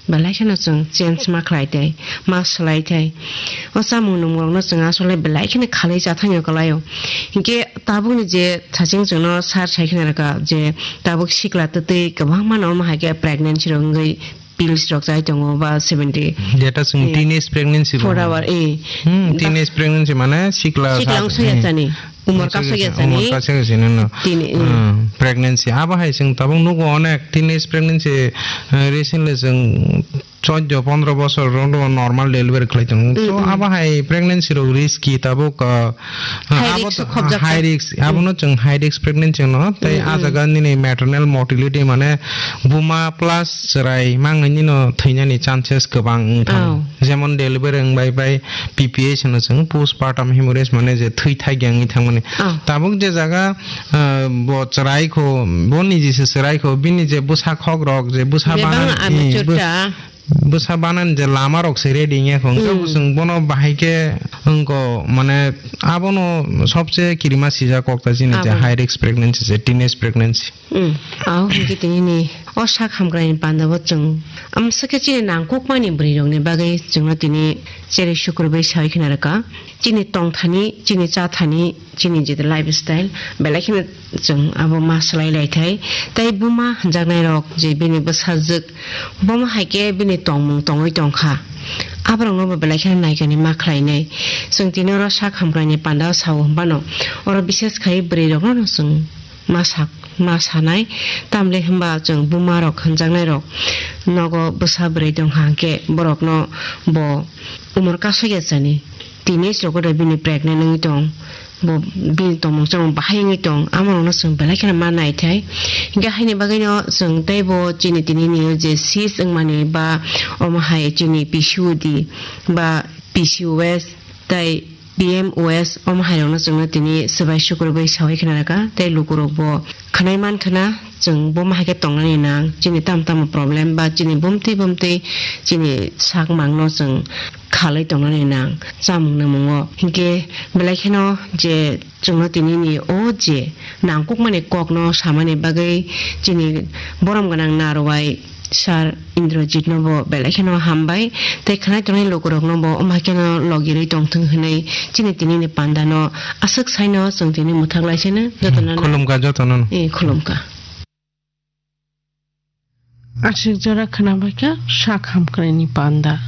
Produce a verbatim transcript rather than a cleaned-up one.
Belai kheno chwng change ma khlai tei ma swlai tei o chamung nwngmung rokno chwng asole belai kheno khalai cha thangyo kwlaio. Hinkhe tabukni je thaching chwngno sir sai khna rwkha je tabuk sikla twtwi kwbangma no omo hai khe pregnancy rok wngwi pills rok chai tongo ba seventy Data chwng eh, teenage pregnancy four rok. Hour, eh. Hmm, Da- teenage pregnancy mane sikla Sikla sa- wng soya eh. chani. Umor Sikla kasogya sa- chani. Umor kasogya chani no. Tini, eh. Hmm, pregnancy. Abo hai chwng tabuk nugo onek teenage pregnancy, eh, recently chwng choddo pondro bosor rok normal delivery khlai tongo. So, Mm, mm. Abo hai pregnancy rok risky tabuk, uh, High abo risk to- khobjak high sa. Risk, abono Mm. Chwng high risk pregnancy no, tei Mm, ah mm. Jaga nini maternal mortality mane buma plus chwrai mangni no thwinani chances kwbang wng thango. Oh. Jemon delivery wng bai bai P P H hwno chwng postpartum hemorrhage mane je thwi thai gyangwi thangmani. Oh. Tabuk je jaga, uh, bo chwrai kho, bo niji se chwrai kho, bini je bwsa khok rok je bwsa Bebak banan, amateur eh, bw- cha. Bwsa banan je lama rok se ready wngya kho, hwnkhe Mm. Bo chwng bono bahai khe wngkho, mane abono sobse kirima sijak kok ta chini je Abo. High risk pregnancy je teenage pregnancy. Mm. Aw, hwnkhe tini ni o sak hamkrai ni panda bo chwng amsa khe chini nangkukmani bwrwi rok ni bagwi chwngno tini cherwi sukurbai sawi khna rwkha. Chini tongthani, chini chathani, chini je lifestyle, belai kheno chwng abo ma swlai lai thai. Tei buma hwnjaknai rok je bini bwsajwk, bomo hai khe bini tongmung tongwi tongkha. Aborokno bo belai kheno naikani ma khlainai. Chwng tini oro sak hamkrai ni panda o sao hwnbano, oro bishes khai bwrwi rokno no chwng ma sak, ma sanai. Tamle hwnba chwng buma rok hwnjaknai rok nogo bwsa bwrwi tongkha hwnkhe borokno bo umor kasogya chani. Teenage rok oro bini pregnant wngwi tong, bo bini tongmung chamung bahai wngwi tong, amorokno chwng belai kheno ma naithai. Hinkhe haini bagwino chwng teibo chini tini ni je cyst wngmani ba omo hai chini P C O D ba P C O S tei P M O S omo hai rokno chwngno tini swbai sukurbai sawi khna rwkha, tei lukurokbo khwnai man khna chwng bomo hai khe tongnani nang, chini tamo tamo problem ba chini bumtwi bumtwi chini sak mangno chwng khalwi tongnani nang chamung nangmungo. Hinkhe belai kheno je chwngno tini ni o je nangkukmani kokno samani bagwi chini borom gwnang narwai Sir Indrajit no bo belai kheno hambai tei khwnai tongnai lukurok no bo omo hai kheno logirwi tongthwng hwnwi chini tini ni panda no aswk saino chwng tini mwthang lai sino jotono no. Khulumkha jotono no. Eh, khulumkha. Aswk jora khwnabaikha sak hamkrai ni panda.